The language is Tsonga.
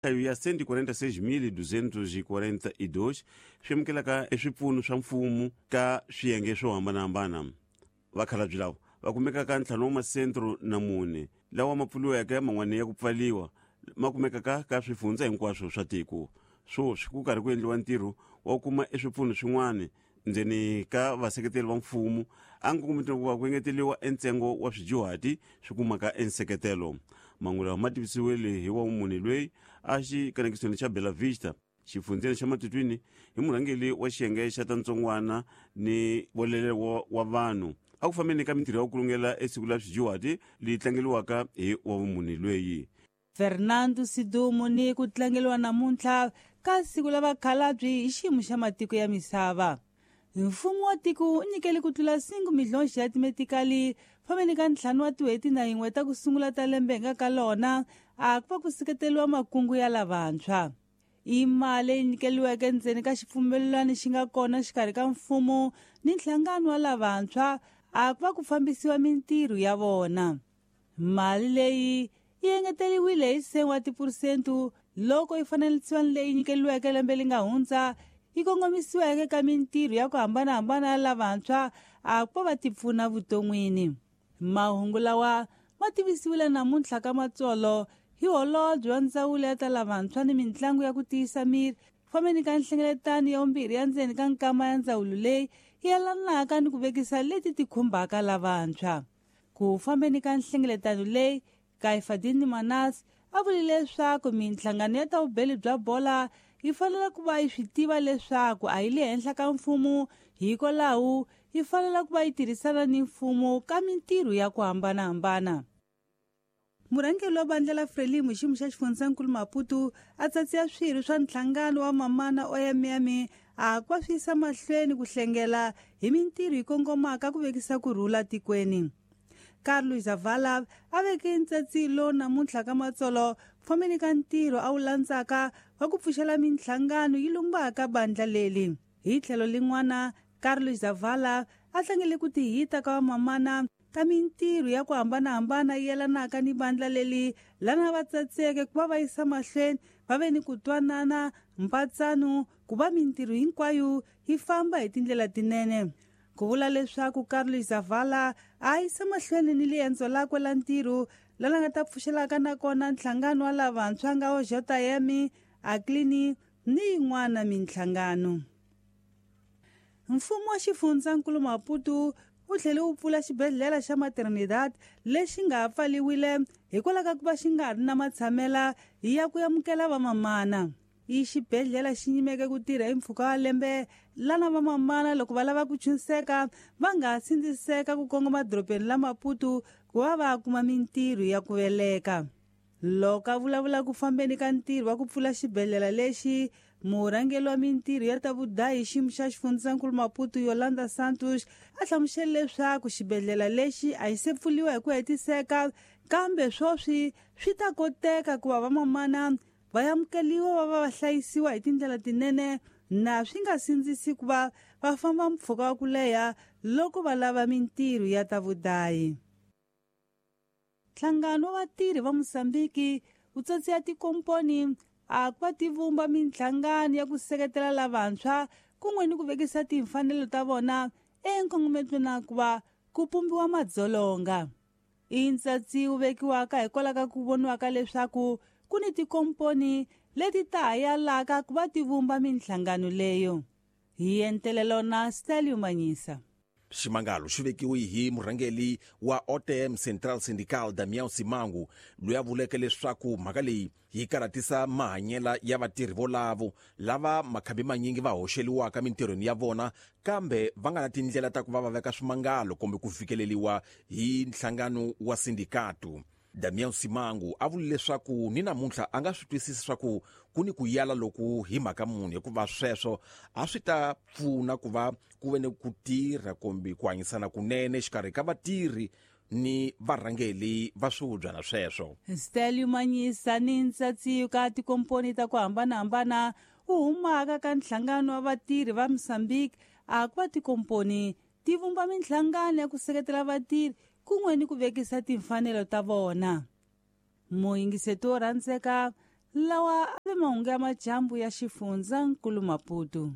Nhlayo ya 146,242 swi amukelaka eswipfuno swa mfumo ka swiyenge swo hambanahambana. Vakhalabye lava va kumeka ka ntlhanu wa masentro na mune lawa ma pfuriweke man'wana ya ku pfaliwa ma kumekaka ka swifundza hinkwaswo swa tiko. Swoswi ku karhi ku endliwa ntirho wa ku kuma eswipfuno swin'wana ndzeni ka vaseketeri va mfumo a nkongometweni ku va ku engeteliwa entsengo wa swidyuhati swi kumaka enseketelo. Mahungu lawa ma tivisiwile hi wa munhu loyi a xikanekisweni xa Bela Vista xifundzeni xa Matutuini hi murhangeri wa xiyenge xa ta ntsongwana ni volele wa vanhu a ku fambeni ka mintirho ya ku kulungela esiku la swidyuhati leyi tlangeliwaka hi wa vumunhu loyi. Fernando Sidumo ni ku tlangeliwa namuntlha ka siku la vakhalabye hi xiyimo xa matiko ya misava. Mfumo wa tiko wu nyikele ku tlula 5 milhonxi ya timetikali fambeni ka 5 wa tin'hweti na yin'we ta ku sungula ta lembe hi nga ka lona a ku va ku seketeriwa makungu ya lavantshwa. I mali leyi nyikeliweke ndzeni ka xipfumelelano xi nga kona xikarhi ka mfumo ni nhlangano wa lavantshwa a ku va ku fambisiwa mintirho ya vona. Mali leyi yi engeteriwile hi 1 wa tiphurosente loko yi fananisiwa ni leyi nyikeliweke lembe leri nga hundza yi kongomisiweke ka mintirho ya ku hambanahambana ya lavantshwa a ku va va tipfuna vuton'wini. Mahungu lawa ma tivisiwile namuntlha ka Matsolo hi holobye wa ndzawulo ya ta lavantshwa ni mintlangu ya ku tiyisa miri fambeni ka nhlengeletano ya vumbirhi ya ndzeni ka nkama ya ndzawulo leyi yi yelanaka ni ku vekisa leti ti khumbaka lavantshwa. Ku fambeni ka nhlengeletano leyi, Kaifadini Manas a vule leswaku minhlangano ya ta vubeli bya bola yi fanele ku va yi swi tiva leswaku a yi le henhla ka mfumo, hikwalaho yi fanele ku va yi tirhisana ni mfumo ka mintirho ya ku hambanahambana. Murhangeri wa vandla la Frelimo xiyimo xa xifundzankulu Maputo a tsatsiya swirho swa nhlangano wa mamana OMM a ku va swi yisa mahlweni ku hlengela hi mintirho yi kongomaka ku vekisa ku rhula tikweni. Carlos Zavala a veke ntsatsilo namuntlha ka Matsolo fambeni ka ntirho a wu landzaka wa ku pfuxela minhlangano yi lumbaka bandla leli. Hi tlhelo lin'wana, Carlos Zavala a tlangele ku tihita ka vamamana ka mintirho ya ku hambanahambana yi yelanaka ni bandla leli lana va tsatseke ku va va yisa mahlweni va ve ni ku twanana mpatsano ku va mintirho hinkwayo yi famba hi tindlela tinene. Ku vula leswaku Carlos Zavala a yisa mahlweni ni liendzo lakwe la ntirho lana nga ta pfuxelaka na kona nhlangano wa lavantshwa nga wa JM, Aklini ni yin'wana minhlangano. Mfumo wa xifundzankulu Maputo wu tlhele wu pfula xibedhlele xa Maternidad lexi nga pfaliwile hikwalaho ka ku va xi nga ri na matshamela ya ku amukela vamamana. I xibedhlele xi nyimeke ku tirha hi mpfhuka wa lembe lana vamamana loko va lava ku chunseka va nga sindziseka ku kongoma dorobeni la Maputo ku va va kuma mintirho ya ku veleka. Loko a vulavula ku fambeni ka ntirho wa ku pfula xibedhlele lexi, murhangeri wa mintirho ya ta vudahi xiyimo xa xifundzankulu Maputo Yolanda Santos a hlamusele leswaku xibedhlele lexi a xi se pfuriwa hi ku hetiseka, kambe swoswi swi ta koteka ku va vamamana va amukeliwa va va va hlayisiwa hi tindlela tinene na swi nga sindzisi ku va va famba mpfhuka wa ku leha loko va lava mintirho ya ta vudahi. Nhlangano wa vatirhi va Mozambique wu tsatsiya tikomponi a ku va ti vumba minhlangano ya ku seketela lavantshwa kun'we ni ku vekisa timfanelo ta vona enkongometweni na ku va ku pumbiwa madzolonga. I ntsatsi wu vekiwaka hikwalaho ka ku voniwaka leswaku ku ni tikomponi leti ta ha yalaka ku va ti vumba minhlangano leyo. Hi entelelo na Stelio Manyisa. Ximangalo xi vekiwe hi murhangeri wa OTM Central Syndical Damião Simango loyi a vuleke leswaku mhaka leyi yi karhatisa mahanyela ya vatirhi volavo lava makhambi manyingi va hoxeliwaka mintirhweni ya vona kambe va nga na tindlela ta ku va va veka swimangalo kumbe ku fikeleliwa hi nhlangano wa sindikatu. Damião Simango a vule leswaku ni namuntlha a nga swi twisisi swa ku ku ni ku yala loku hi mhaka munhu hikuva sweswo a swi ta pfuna ku va ku ve ni ku tirha kumbe ku hanyisana kunene xikarhi ka vatirhi ni varhangeli va swivubyana sweswo. Stelio Manyisa ni ntsatsiyo ka tikomponi ta ku hambanahambana wu humaka ka nhlangano wa vatirhi va Mozambique a ku va tikomponi ti vumba minhlangano ya ku seketela vatirhi kun'we ni ku vekisa timfanelo ta vona. Muyingiseti wo rhandzeka Lawa a ve mahungu ya majambu ya xifundza nkulu Maputo.